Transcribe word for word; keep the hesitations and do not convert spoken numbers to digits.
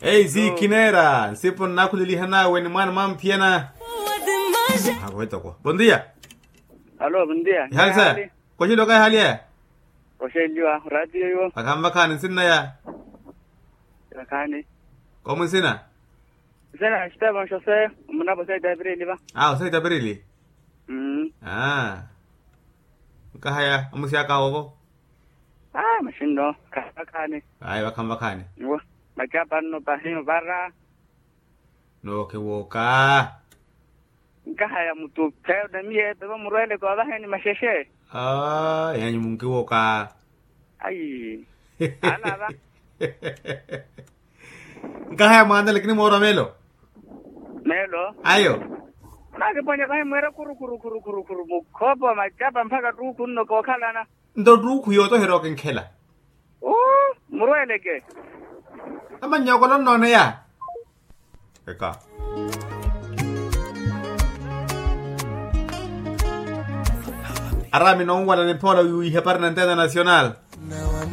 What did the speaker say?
Ei zi kineera nsipu nnaakhuleliha nawe ni mwaana mwamphiya na. Hakuvetoko bondia. Alo bondia. Ihali saya? Koxilioka ihali aya. Koxeliwa ratio iwo. Vakhanvakhani nsinna ya. Vakhani. Komu nsina? Nsina ya xitevo nxose. Omunapo saita ya pirili va. A osaita ya pirili. Aaa. Nkahaya omusi aka wovo. Aaa maxinno. Khanvakhani. Ayi vakhanvakhani. Iwo. Makyapa nno pahi ovara. Nookiwooka. Nkahaya mutu khayo na miyo epe vamurweleke ovaheni maxexe. Aaa yanyu munkiwooka. Ayi. Alava. Nkahaya mwaana lakini moorwa meelo. Meelo. Ayo. Nakiponya vahi mwira khurukhuru khurukhuru mukhoopo wa makyapa mpakha ttuukhu nno kookhalana. Nto ttuukhu yootoherya okinkhela. Uu murweeleke. Amannyokolo nnooneya. Eka. Araami nonwala niphoola wiiha para na ntena nacional.